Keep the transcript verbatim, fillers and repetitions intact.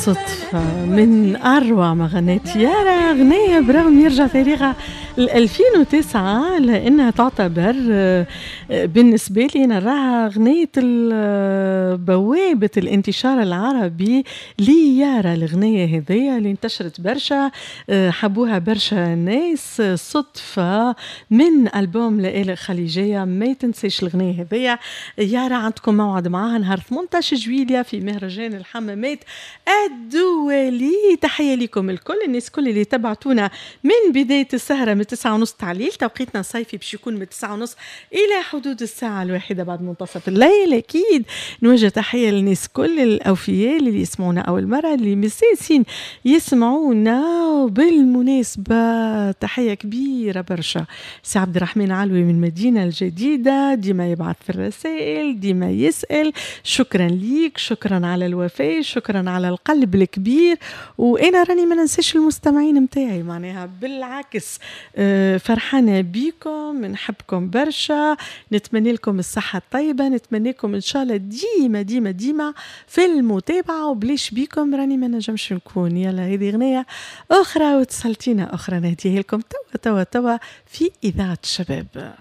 صدفة من أروع ما غنيت يارا، غنية برغم يرجع تاريخها ل ألفين وتسعة لأنها تعتبر آه، بالنسبة لي نراها غنية بوابة الانتشار العربي ليارا. الغنية هذيا اللي انتشرت برشا، آه، حبوها برشا ناس. صدفة من ألبوم لآلئ الخليجية، ما تنساش الغنية هذيا. يارا عندكم موعد معاها نهار ثمانية عشر جويلية في مهرجان الحمامات الدولي. تحية لكم الكل، الناس كل اللي تبعتونا من بداية السهرة من تسعة ونص تاع الليل، توقيتنا الصيفي باش يكون من تسعة ونص إلى حدود الساعة الواحدة بعد منتصف الليل. أكيد نوجه تحية للناس كل الأوفياء اللي يسمعونا أول مرة، اللي مساسين يسمعونا. بالمناسبة تحية كبيرة برشا سي عبد الرحمن علوي من المدينة الجديدة، ديما يبعث في الرسائل، ديما يسأل. شكرا ليك، شكرا على الوفاء، شكرا على القلب الكبير. وأنا راني ما ننساش المستمعين متاعي، معناها بالعكس فرحانة بيكم، نحبكم برشا، نتمنى لكم الصحة الطيبة، نتمنى لكم إن شاء الله ديما ديما ديما في المتابعة، وبليش بيكم راني ما نجمش نكون. يلا هذه غنية أخرى وتسلتينا أخرى نهديها لكم توا توا توا في إذاعة الشباب.